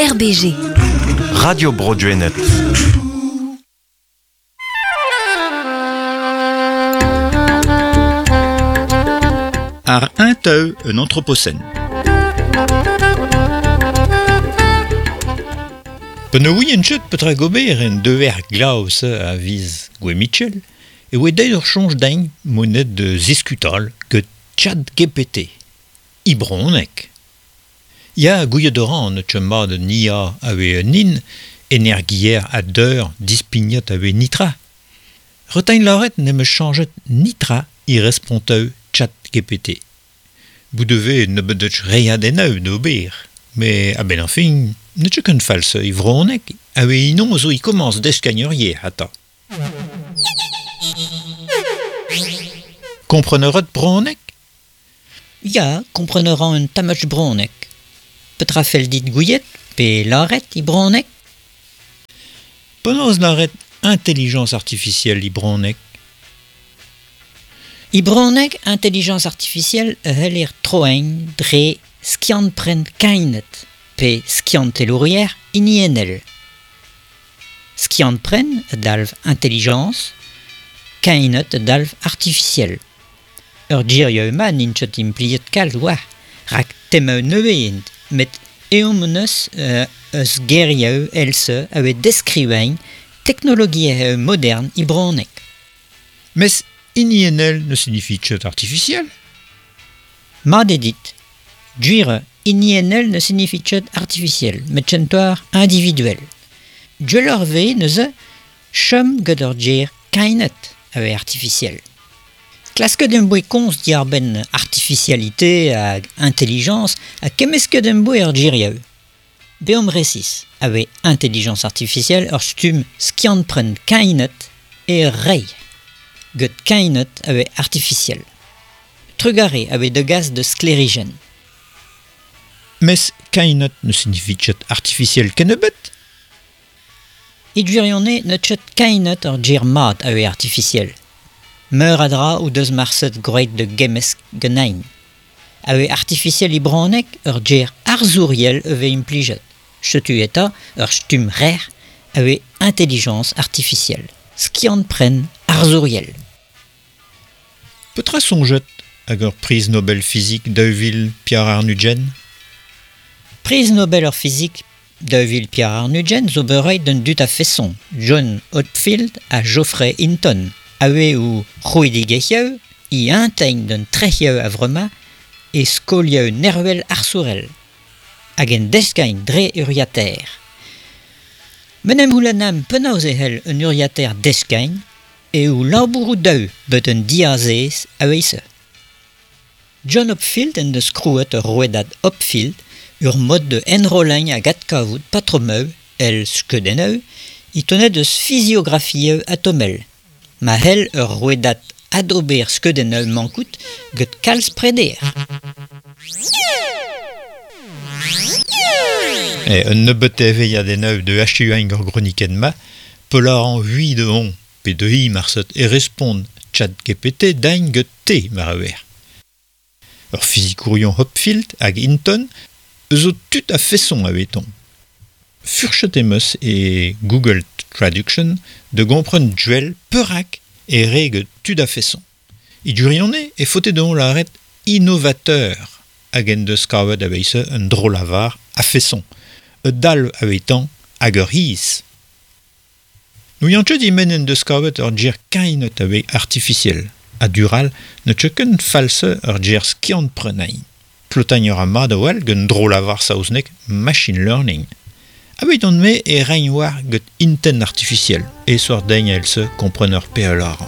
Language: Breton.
RBG. Radio Bro Gwened. Ar un teu un anthropocène. Pe ne ouien ket petra gober en deuer glav-se a viz Gwe Mitchell, e oe deuet ur soñj din monet de ziskutal get Chat GPT. I bronneg. Ya gouiet a ran ne teu mat un IA a oe un hin, energier a deur dispignat a oe nitra. Retain lâret n'em eus chañjet nitra i responteu Chat GPT. Bout devez nebeut reiñ d'ober, mais a-benn ar fin, ne teu ket false i vronneg, a oe inon zo i komañs deskañ ur yer ata. Kompren a ret bronneg? Ya, kompren a ran un tammach bronneg. Petra fell dit gouiet pe lâret i bronneg? Penaos lâret intelligence artificielle i bronneg? I bronneg intelligence artificielle a c'heller troiñ dre skiant-pren kainet pe skiantelourier hiniennel. Skiant-pren a dalv intelligence, kainet a dalv artificiel. Ur gerioù ma n'int ket implijet kalz war, rak temañ nevez int, met eomp hon eus eus gerioù èl-se a oe deskrivañ teknologiezh modern i bronneg. Mes hiniennel ne signifie ket artificiel? Mat eo dit. Gwir eo, hiniennel ne signifie ket artificiel, met kentoc'h individuel. Gwelloc'h e vez neuze chom gant ur ger kainet a vez artificiel. Klasket em boa komz diàr-benn artificialité hag intelligence ha kemmesket em boa ur gerioù. Beomp resis, a vez intelligence artificielle ur stumm skiant-pren kainet e ur reiñ. Get kainet a vez artificiel. Trugarez a vez degas de sklêrijenn. Mes kainet ne signifie ket artificiel kennebeut? E gwirionez ne ket kainet ur ger mat a vez artificiel. Meur a dra o deus marset gwraet da gemmesk ganin. A vez artificiel e bronneg ur ger arzouriel e vez implijet. Setu eta ur stumm rer a vez intelligence artificielle. Skiant-pren arzouriel. Petra soñjet hag ur priz Nobel fizik 2000 Pierre Arnudjen? Priz Nobel ur fizik 2000 Pierre Arnudjen zo bet roet d'un dud a-feson, John Hopfield ha Geoffrey Hinton, a oe o c'hrouidigezhioù i integn d'un trec'hioù a-vremañ e skolioù nervel arzourel, hag en deskañ dre uriataer. M'en em c'houlennan penaos e c'hell un uriataer deskañ e o labouroù daou bet un diazez a-wezh. John Hopfield en deus krouet ur rouedad Hopfield ur mod de enrolleñ hag adkavout patromoù èl skeudennoù e tonet eus fiziografioù atomel. Ma c'hell ur rouedad adober skeudennoù mankout get kalz preder. E, un nebeut evezhiadennoù de achuañ ur gronikenn-ma, pelar hui de on, pe de hi marset e respont chat GPT dain get te mar a wer. Ur fizikourion Hopfield hag Hinton eus o tud a feson a veton. Furchet em eus e Google Traduction de gompren duel perak e re get tud a feson. I gwirionez e faote dezhañ lâret innovateur hag en deus kavet a-wezh un dro-lavar a feson, ur dalv a-wetan hag ur hiz. N'ouian ket e-men en deus kavet ur ger kainet a vez artificiel, ha dural ne teu ket false ur ger skiant-prenañ. Klotañ ur mat a-walc'h gant dro-lavar saoznek machine learning. A-bet on me e reiñ war get intent artificiel, e sort deiñ èl-se kompren ur pe a lâran.